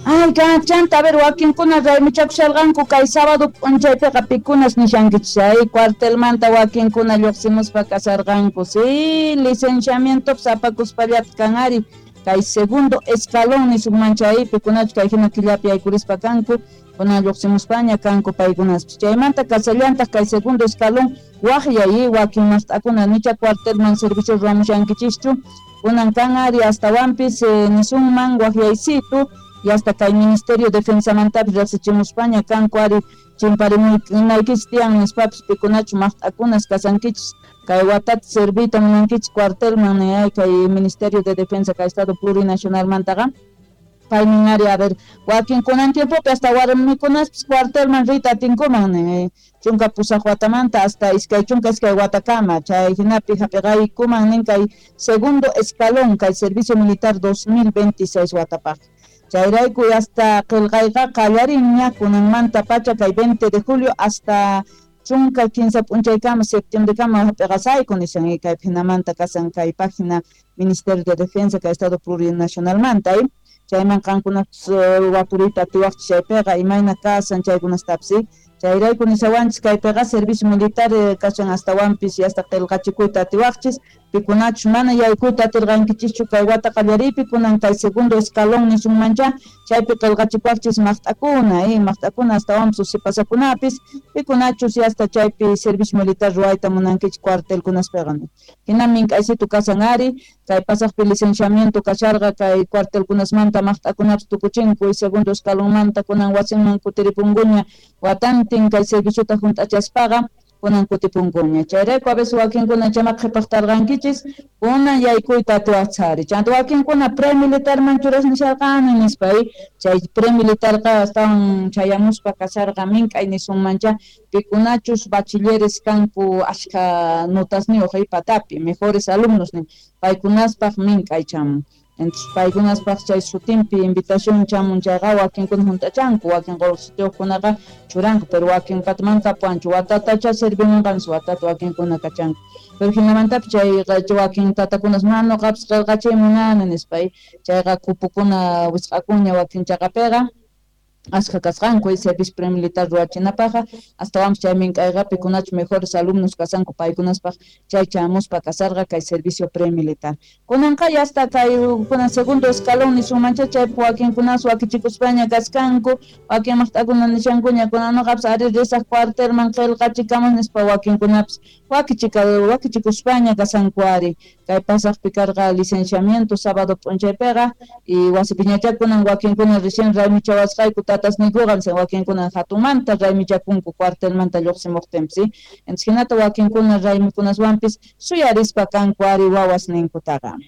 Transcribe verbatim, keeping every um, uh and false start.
Ay, chanta, a ver, wakinkuna raymichakusharqanku kay sábado p'unchaypiqa pikunas nishankichis ay cuartelmanta wakinkuna lluqsimuspa kasarqanku. Sí, licenciamientopas apakuspallata kan ari kay segundo escalón nisunman chay pikunachu kay hina killapi yaykurispa kanku kunan lluqsimuspaña kanku paykunaspis. Chaymanta kasallantaq kay segundo escalón waqyay wakin mast'akuna nicha cuartelman servicio ruwamushankichischu kunan kan ari astawanpis eh, nisunman waqyaysitu y hasta kay Ministerio de Defensamantapis riqsichimuspaña kanku ari chimparimunaykichis tiyan nispapis pikunachu maqt'akunas kasankichis kay watata serviyta munankichis cuartelman ay kay Ministerio de Defensa kay Estado Plurinacionalmantaqa paynin ari a ver wakin kunan tiempopi hasta warmikunaspis cuartelman riyta atinkuman nin chunka pusaq watamanta hasta iskay chunka iskay watakama chay hinapi hap'iqaykuman nin kay segundo escalón kay servicio militar dos mil veintiséis watapaq. Chayrayku hasta qillqayqa qallarinña kunanmanta pacha kay veinte de julio hasta chunka kinsa p'unchaykama septiembrekama hap'iqasayku nishan kay phinamanta kasan kay página Ministerio de Defensa kay Estado Plurinacionalmanta chayman qankunapas wapuriyta atiwaqchis chaypiqa imayna kasan chaykunastapis chayrayku nisawanchis kaypiqa servicio militar kashan astawanpis hasta qillqachikuyta atiwaqchis pikunachus mana yaykuyta atirqankichischu kay wata qallariypi kunan kay segundo escalón nisunmancha chaypi qillqachikuwaqchis maqt'akuna eh maqt'akuna astawanpis usipasakunapis pikunachus hasta chaypi servicio militar ruwayta munankichis cuartelkunaspiqa hina mink'aysitu kasan ari kay pasaqpi licenciamiento kasharqa kay cuartelkunasmanta maqt'akunapis tukuchinku y segundo escalonmanta kunan wasinman kutiripunkuña watantin kay serviciota hunt'achaspaqa kunan kutipunkuña chayrayku a veces wakinkuna chama qhipaqtarqankichis kunan yaykuyta atiwaqchis ari chanta wakinkuna premilitarman churas nisharqani nispa chay premilitarqa astawan chayamuspa kasharqa mink'ay nisunmancha pikunachus bachilleres kanku ashkha notasniyuq patapi mejores alumnos nin paykunaspaq mink'ay chamun. Entonces paykunaspaq chay sutinpi invitación chamun chayqa wakinkuna hunt'achanku wakin qullqisitiyuqkunaqa churanku pero wakin patman kapuanchu watatacha servimunqanchis watata wakinkuna kachanku pero hinamantapis chay wakin tatakunas mana nuqapis qillqachiy munani nispa chayqa kupukuna wisq'akunña wakin chaqapiqa ashkha kasqanku servicio premilitar ruwachinapaqqa astawanpis chay mink'ayqa pikunachu mejores alumnos kasanku paykunaspaq chay chamuspa kasarqa kay servicio premilitar kunanqa hasta kay kunan segundo escalón nisunmancha chaypi wakinkunas wakichikuspaña kaskanku wakin maqt'akuna nishankuña kunan nuqapis ari risaq cuartelman qillqachikamus nispa wakinkunapis wakichika wakichikuspaña kasanku ari kay pasaqpi karqa licenciamiento sábado p'unchaypiqa y wasipiñachá kunan wakinkuna recién raymichawasqayku tatasniykuqa wakinkuna hatunmanta raymichakunku cuartelmanta lluqsimuqtinpis entonces hinata wakinkuna raymikunaswanpis suyarispa kanku ari wawasninkutaqa.